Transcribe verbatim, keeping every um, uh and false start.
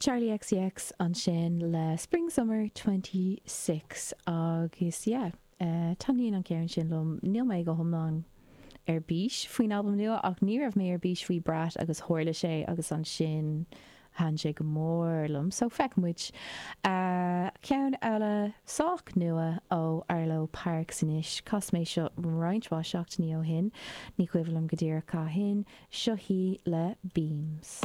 Charli XCX ansin le Spring Summer Twenty Six agus yeah, uh, taitníonn an ceann sin liom níl mé go hiomlán ar bís faoin albam nua ach ní raibh mé ar bís faoi Brat agus tharla sé agus ansin thaitin sé go mór liom, so feicfidh muid. Uh, ceann eile sách nua ó Arlo Parks anois chas mé seo roinnt mhaith seachtainí ó shin, ní cuimhin liom go díreach cathain, seo í le Beams.